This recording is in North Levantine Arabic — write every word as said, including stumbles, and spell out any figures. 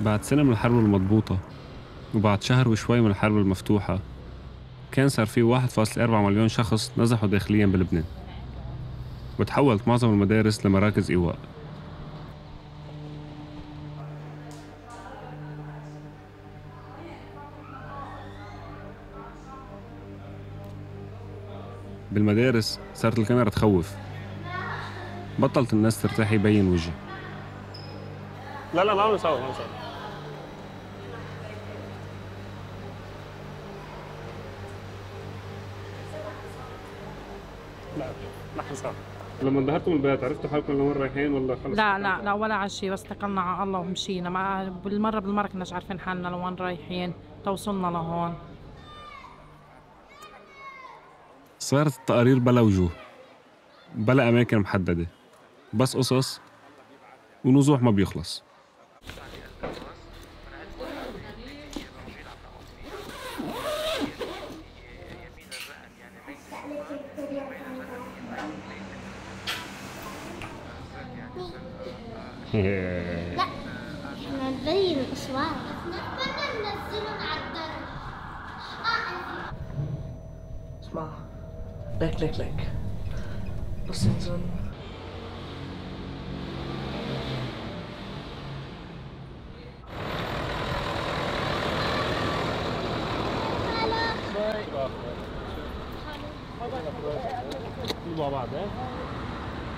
بعد سنة من الحرب المضبوطة وبعد شهر وشوي من الحرب المفتوحة كان صار في واحد فاصلة أربعة مليون شخص نزحوا داخلياً بلبنان، وتحولت معظم المدارس لمراكز إيواء. بالمدارس صارت الكاميرا تخوف، بطلت الناس ترتاح يبين وجه. لا لا ما عم نصور ما عم نصور. لا ما حنصور. لما انظهرتوا من البيت عرفتوا حالكم لوين رايحين ولا خلص؟ لا لا لا ولا على شيء، بس اتكلنا على الله ومشينا، ما بالمره بالمره كناش عارفين حالنا لوين رايحين، توصلنا لهون. صارت التقارير بلا وجوه، بلا أماكن محددة، بس قصص ونزوح ما بيخلص. لا احنا نبين الاصوات بدنا ننزلهم على الدرج. اسمع ليك ليك ليك بس انزل مع بعض.